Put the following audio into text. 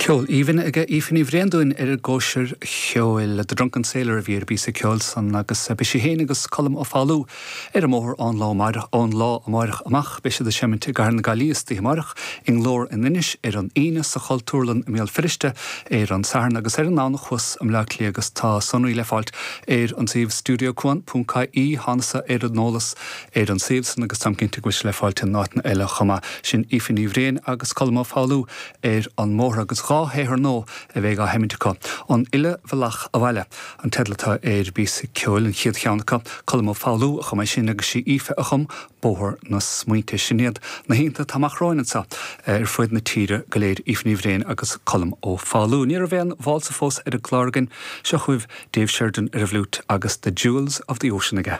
Ceol aoibhinn aige Aoife Ní Bhriain dúinn ar an gcóisir cheoil. The Drunken Sailor a bhí ar an bpíosa ceoil san agus beidh sí féin agus Colm Ó Foghlú ar an mbóthar ón lá amáireach ón lá amáireach amach. Beidh siad ag seimint i gCathair na Gaillimhe istoíche amáireach, i nGlór in Inis ar an Aoine, sa Chultúrlann i mBéal Feirste ar an Satharn agus ar an nDomhnach thuas i mBleá Cliath agus tá sonraí le fáilt ar an suíomh studiocuan.ie. Thánasa ar an eolas ar an suíomh san agus táim cinnte go bhfuil sé le fáilt in áiteanna eile chomh maith. Sin Aoife Ní Bhriain agus Colm Ó Foghlú ar an mbóthar agus dá shaothar nua a bheidh á sheimint acu. An Uile Bhealach Abhaile an teideal atá ar an bpíosa ceoil, an chéad cheann acu. Colm Ó Foghlú a chum é sin agus sí Aoife a chum Bóthar na Smaointe. Sin iad na haíonna atá amach romhainn anseo ar fuaid na tíre go léir, Aoife Ní Bhriain agus Colm Ó Foghlú. Ní raibh aon válsa fós ar an gclár againn. Seo chugaibh Dave Sheridan ar an bhfliúit agus The Jewels of the Ocean aige.